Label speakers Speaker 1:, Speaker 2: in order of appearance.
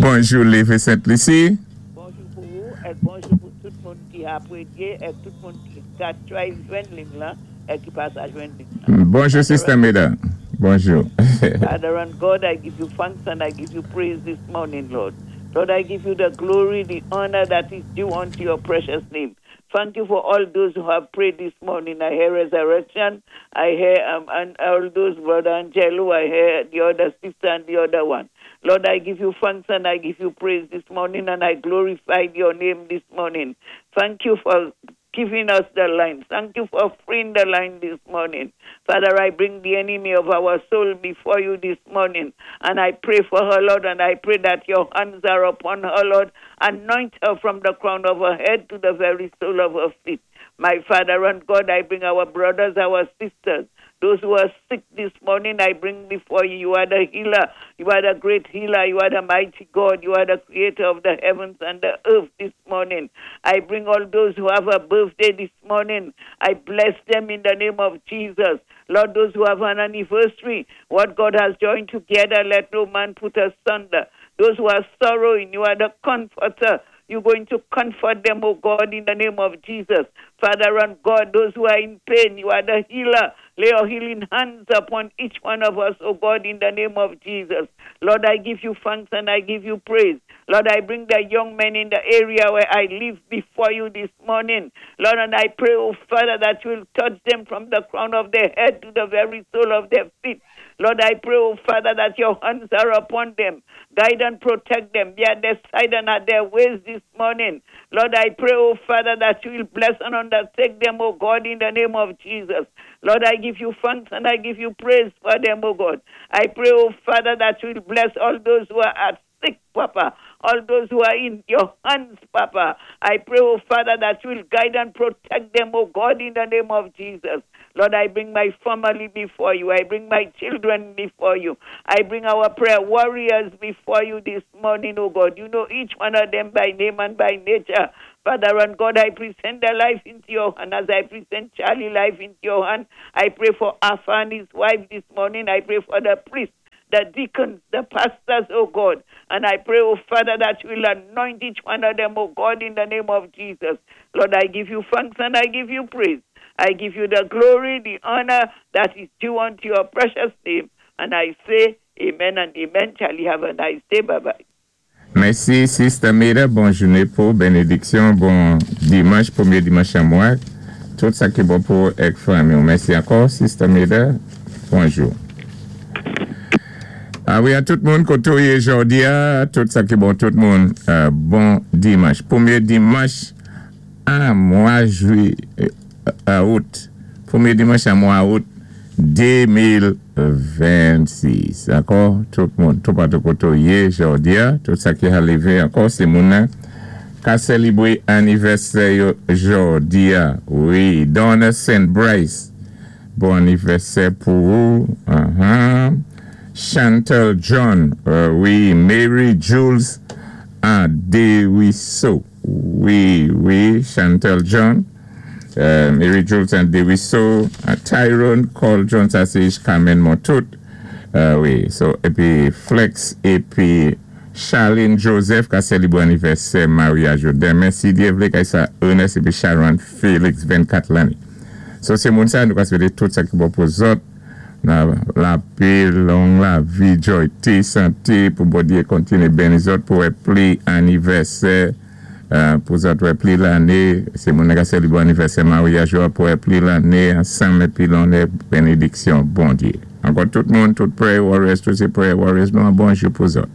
Speaker 1: Bonjou Leve Sent Lisi.
Speaker 2: Bonjou pou ou èk bonjou pou tout moun ki apwédyé èk tout moun ki ka try jwenn ling lan èk ki pa sa jwenn ling lan.
Speaker 1: Bonjou Sister Meda. Bonjou.
Speaker 2: Father and God, I give you thanks and I give you praise this morning, Lord. Lord, I give you the glory, the honor that is due unto your precious name. Thank you for all those who have prayed this morning. I hear resurrection. I hear and all those, Brother Angelo. I hear the other sister and the other one. Lord, I give you thanks and I give you praise this morning and I glorify your name this morning. Thank you for giving us the line. Thank you for freeing the line this morning. Father, I bring the enemy of our soul before you this morning. And I pray for her, Lord, and I pray that your hands are upon her, Lord. Anoint her from the crown of her head to the very sole of her feet. My Father and God, I bring our brothers, our sisters, those who are sick this morning, I bring before you. You are the healer. You are the great healer. You are the mighty God. You are the creator of the heavens and the earth this morning. I bring all those who have a birthday this morning. I bless them in the name of Jesus. Lord, those who have an anniversary, what God has joined together, let no man put asunder. Those who are sorrowing, you are the comforter. You're going to comfort them, oh God, in the name of Jesus. Father and God, those who are in pain, you are the healer. Lay your healing hands upon each one of us, oh God, in the name of Jesus. Lord, I give you thanks and I give you praise. Lord, I bring the young men in the area where I live before you this morning. Lord, and I pray, oh Father, that you will touch them from the crown of their head to the very sole of their feet. Lord, I pray, oh Father, that your hands are upon them. Guide and protect them. Be at their side and at their ways this morning. Lord, I pray, oh Father, that you will bless and undertake them, oh God, in the name of Jesus. Lord, I give you thanks and I give you praise for them, oh God. I pray, oh Father, that you will bless all those who are at sick, Papa. All those who are in your hands, Papa. I pray, oh Father, that you will guide and protect them, oh God, in the name of Jesus. Lord, I bring my family before you. I bring my children before you. I bring our prayer warriors before you this morning, oh God. You know each one of them by name and by nature. Father and God, I present their life into your hand as I present Charlie life into your hand. I pray for Alpha and his wife this morning. I pray for the priest, the deacons, the pastors, oh God. And I pray, oh Father, that you will anoint each one of them, oh God, in the name of Jesus. Lord, I give you thanks and I give you praise. I give you the glory, the honor that is due unto your precious name. And I say, Amen and amen. Charlie, have a nice day. Bye bye.
Speaker 1: Mèsi Sister Meda bon jouné pou benediksyon bon dimanch pwémyé dimanch an mwa tout sa ki bon pou ou èk fanmi ou mèsi ankò Sister Meda bonjou a wi a tout moun koté ou yé jòdi a tout sa ki bon tout moun bon dimanch pwémyé dimanch an mwa jwi out pwémyé dimanch an mwa out 2026 ankò tout moun toupatou kote w ye jodi a tout sa ki arive ankò se moun nan ka selibre anivèsè yo jodi a wi Donna Saint Brice bon anivèsè pou ou ahan Chantal John wi Mary Jules Anderiso wi wi Chantal John. Mary Jules Anderiso, Tyrone Cole John sa sé Carmen Montout wi so épi Flex épi Charlene Joseph ka selibre anivèsè maryaj yo denmen si Dye vlé kay sa Ernest épi Sharon Felix 24 lanné so sé moun sa nou ka swété tout sa ki bon pou zòt nan lapé long lavi joyté santé pou Bondye kontiné beni zòt pou wè pli anivèsè. Pou zòt wè pli lanné, sé moun nan ka selibre anivèsè maryaj yo ap wè pli lanné ansanm épi lonè benediksyon Bondye. Ankò tout moun, tout prayer warriors, tout sé prayer warriors nou an bonjou pou zòt.